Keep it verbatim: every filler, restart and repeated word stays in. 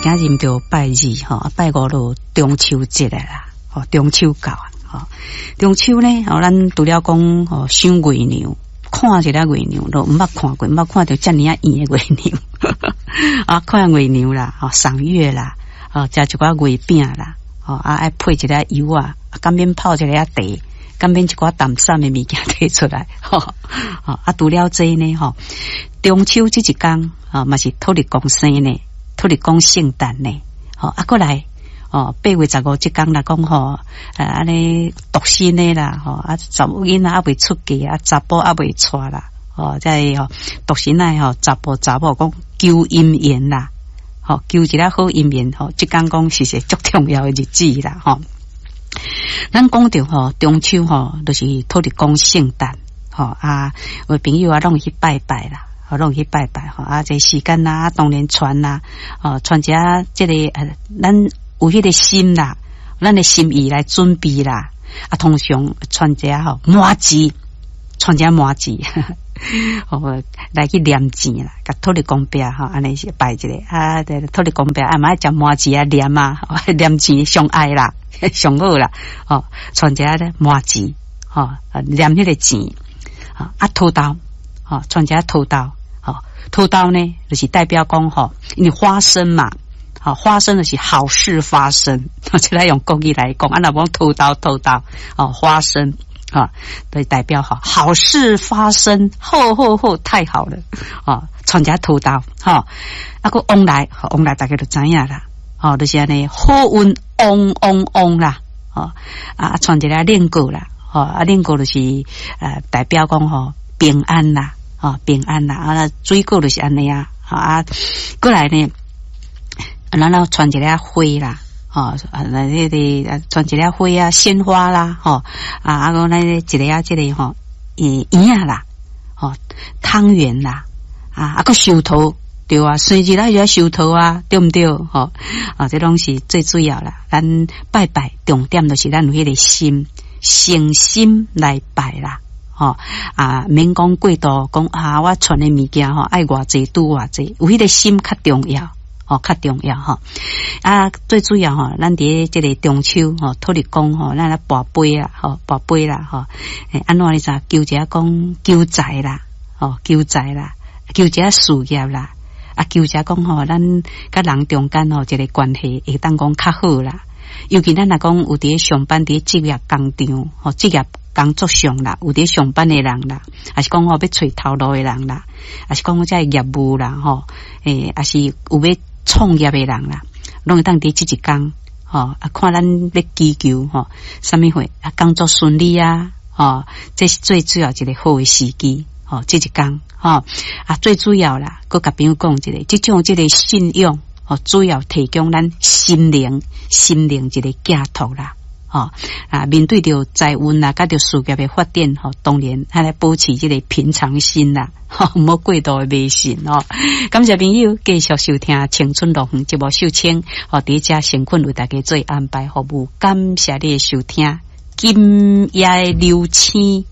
今日就拜二吼，拜五就中秋節啦，吼，中秋到啊，吼，中秋呢，吼，咱除了講吼賞月娘，看一下月娘，都毋捌看過，毋捌看著遮爾仔圓的月娘，啊，看月娘啦，吼，賞月啦，吼，食一寡月餅啦，吼，啊，愛配一下柚仔，敢免泡一下茶，敢免一寡淡散的物件提出來，吼，啊，除了這呢，吼，中秋這一工，吼，嘛是土地公生呢，土地公聖誕呢，吼，啊，過來，哦，八月十五這工來講吼，啊，按呢獨身的啦，吼，啊，查某囡仔猶未出嫁啊，查埔猶未娶啦，吼，這个吼，獨身的吼，查埔查某講求姻緣啦，吼，求一个好姻緣，吼，這工講是是足重要的日子啦，吼。咱講著吼，中秋吼，就是土地公聖誕，吼啊，有朋友啊，攏會去拜拜啦，吼，攏會去拜拜，吼啊，這時間啦，當然傳啦，哦，傳一下這個，呃，咱有彼個心啦，咱的心意來準備啦，啊，通常傳一下吼，麻糍，傳一下麻糍，吼，來去念錢啦，共土地公伯吼，按呢是拜一下，啊，土地公伯啊，嘛愛食麻糍啊，念啊，念錢上愛啦。上好啦，吼，傳一下咧麻糍，吼，念彼個錢，啊，土豆，吼，傳一下土豆，吼，土豆呢，就是代表講吼，因為花生嘛，吼，花生就是好事發生，這來用國語來講，啊，若講土豆土豆，哦，花生，吼，就代表吼，好事發生，好好好，太好了，哦，傳一下土豆，吼，啊，閣旺來，旺來大家就知影啦。吼，就是按呢，好運旺旺旺啦，吼啊，傳一个輪果啦，吼啊，輪果就是呃代表講吼平安啦，吼平安啦，啊，水果就是按呢啊，啊，過來呢，然後傳一個花啦，吼啊，那彼個傳一個花啊，鮮花啦，吼啊，啊，閣咱一个啊，這個吼，圓圓仔啦，吼湯圓啦，啊，啊，閣壽桃。對啊，生日咱就愛壽桃啊，對毋對？吼啊，這攏是最主要啦。咱拜拜重點就是咱有彼個心，誠心來拜啦。吼啊，免講過度講啊，我傳的物件吼愛偌濟拄偌濟，有彼個心較重要，吼較重要吼。啊，最主要吼，咱佇這個中秋吼，土地公吼，咱來跋杯啊，吼跋杯啦，吼，欸，按怎你知？求一下講求財啦，吼求財啦，求一下事業啦。啊，求者講吼，咱佮人中間吼，一個關係會當講較好啦。尤其咱若講有佇咧上班，佇咧職業工場吼，職業工作上啦，有佇咧上班的人啦，抑是講吼欲揣頭路的人啦，抑是講這業務啦吼，欸，抑是有欲創業的人啦，攏會當佇這一工吼，啊，看咱欲祈求吼，啥物貨啊，工作順利啊，吼，這是最主要一個好的時機，吼，這一工。吼啊，最主要啦，閣共朋友講一下，這種這個信仰，吼，主要提供咱心靈、心靈一個寄託啦，吼啊，面對著財運啦，佮著事業的發展，吼，當然愛來保持這個平常心啦，吼，毋好過度的迷信哦。感謝朋友繼續收聽《青春樂園》節目，秀清，吼，佇遮誠懇為大家做安排服務，感謝你的收聽。今夜的流星。